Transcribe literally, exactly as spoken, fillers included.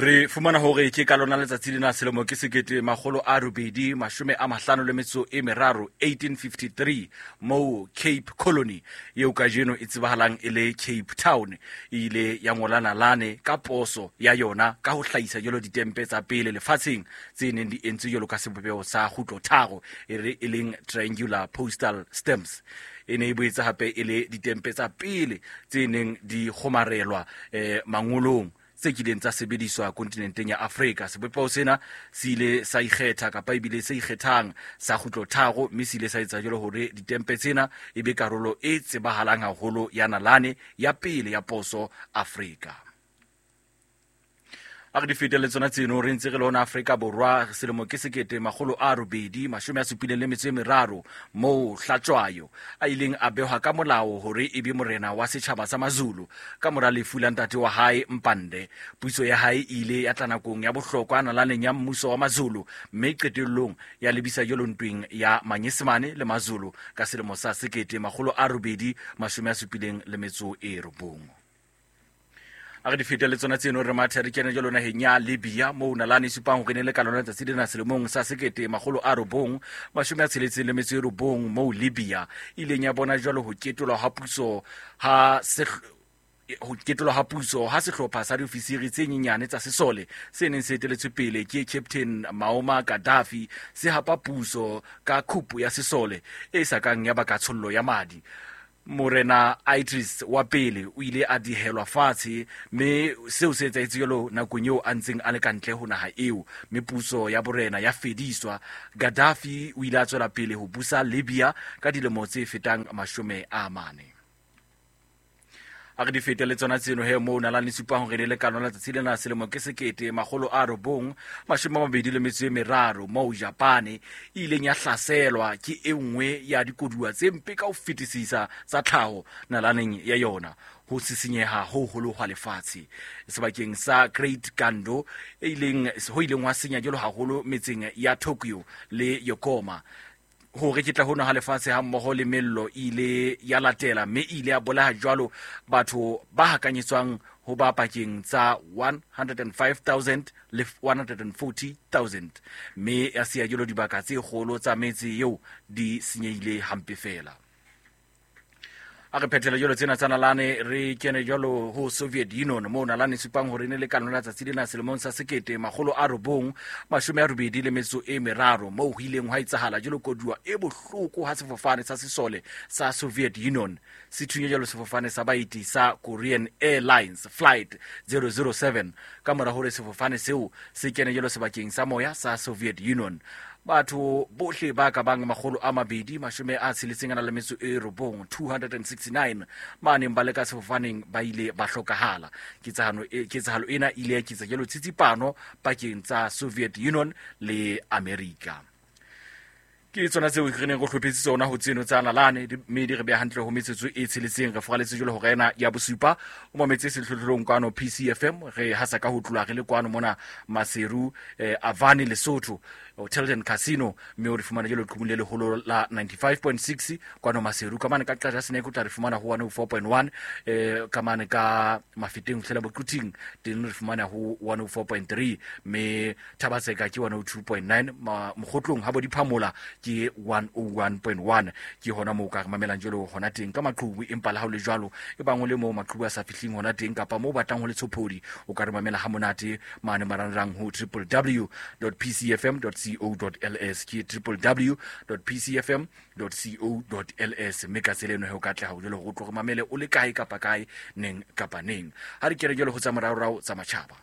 Re fumana hore ke ka lona letsatsi lena selemo ke sekete makgolo a robedi mashome a mahlano le metso e meraro eighteen fifty-three moo Cape Colony eo kajeno e tsebahalang e le Cape Town e ile ya ngola nalane ka poso ya yona ka ho hlahisa jwalo ditempe tsa pele lefatsheng tse neng di entswe jwalo ka sebopeho sa kgutlo tharo e re e leng triangular postal stamps. E ne e boetse hape e le ditempe tsa pele tse neng di kgomarelwa eh mangolong tse kileng tsa sebediswa kontinenteng ya Afrika. Sebopeho sena se ile sa ikgetha kapa ebile se ikgethang sa kgutlo tharo, mme se ile sa etsa jwalo hore ditempe tsena e be karolo e tsebahalang haholo ya nalane ya pele ya poso Afrika. A re di fete le tsona tseno re ntse re le hona Afrika Borwa selemo ke sekete makgolo a robedi mashome a supileng le metso e meraro moo Hlatshwayo a ileng a behwa ka molao hore e be morena wa setjhaba sa Mazulu ka mora lefu la ntate wa hae Mpande. Puso ya hae e ile ya tla nakong ya bohlokwa nalaneng ya mmuso wa Mazulu mme qetellong ya lebisa jwalo ntweng ya Manyesemane le Mazulu ka selemo sa sekete makgolo a robedi mashome a supileng le metso e robong. A re di fete le tsona tseno re mathe re kene jwalo naheng ya Libya moo nalane e supang hore ne le ka lona letsatsi lena selemong sa sekete makgolo a robong mashome a tsheletseng le metso e robong moo Libya e ileng ya bona jwalo ho ketolwa ha puso ha ho ketolwa ha puso ha sehlopha sa diofisiri tse nyenyane tsa sesole se neng se eteletswe pele ke Captain Muammar Gaddafi se hapa puso ka khupu ya sesole e sa kang ya baka tshollo ya madi. Morena Idris wa pele o ile a dihelwa fatshe mme seo se etsahetse jwalo nakong eo a ntseng a le ka ntle ho naha eo, mme puso ya borena ya fediswa. Gaddafi o ile a tswela pele ho busa Libya ka dilemo tse fetang mashome a mane. A re di fete le tsona tseno he moo nalane supang hore le ka lona letsatsi lena selemo ke sekete makgolo a robong mashome a mabedi le metso e meraro moo Japane e ileng ya hlaselwa ke e nngwe ya dikoduwa tse mpe ka ho fetisisa tsa tlhaho nalaneng ya yona, ho sisinyeha ho hoholo hwa lefatshe sebakeng sa Great Kando e ileng ho ileng hwa senya jwalo haholo metseng ya Tokyo le Yokohama. Ho reketla hona ha lefatshe ha mmoho le mello ile ya latela mme ile ya bolaya jwalo batho ba hakanyetswang ho ba pakeng tsa one hundred and five thousand le one hundred and forty thousand, mme ya siya jwalo dibaka tse kgolo tsa metse eo di senyehile hampe fela. A re phethele jwalo tsena tsa nalane re kene jwalo ho Soviet Union moo nalane supang hore ne le ka lona letsatsi lena selemong sa sekete makgolo a robong mashome a robedi le metso e meraro moo ho ileng hwa etsahala jwalo koduwa e bohloko ha sefofane sa sesole sa Soviet Union se thunya jwalo sefofane sa baeti sa Korean Airlines Flight zero zero seven ka mora hore sefofane seo se kene jwalo sebakeng sa moya sa Soviet Union. Batho bohle ba ka bang makgolo a mabedi mashome a tsheletseng a na le metso e robong two hundred and sixty-nine ba neng ba le ka sefofaneng ba ile ba hlokahala. Ketsahalo e ketsahalo ena ile ya ketsa jwalo tsitsipano pakeng tsa Soviet Union le Amerika. Ke tsona tseo re neng re hlophetse tsona ho tseno tsa nalane mme di re beha hantle ho metsotso e tsheletseng. Re foraletse jwalo hora ena ya bosupa o mametse sehlohlolong kwano P C F M re hasa ka ho tloha re le kwano mona Maseru eh, Avani Lesotho Hotel and Casino mme o re fumana jwalo qhubung le leholo la ninety-five point six kwano Maseru. Ka mane ka Qaja Seneke o tla re fumana ho one oh four point one eh, ka mane ka Mafeteng hlela Boquting teng re fumana ho one oh four point three mme Thabatseka ke one oh two point nine Mokgotlong ha bo diphamola ke one oh one point one. Ke hona moo ka re mamelang jwalo hona teng ka maqhubu, empa le ha o le jwalo e bang o le moo maqhubu a sa fihling hona teng kapa moo batlang ho le tshophodi o ka re mamela ha monate mane marangrang ho w w w dot p c f m dot co dot l s ke w w w dot p c f m dot co dot l s mme ka tsela eno he o ka tleha ho jwalo hore o tlo re mamele o le kae kapa kae neng kapa neng. Ha re kene jwalo ho tsa moraorao tsa matjhaba.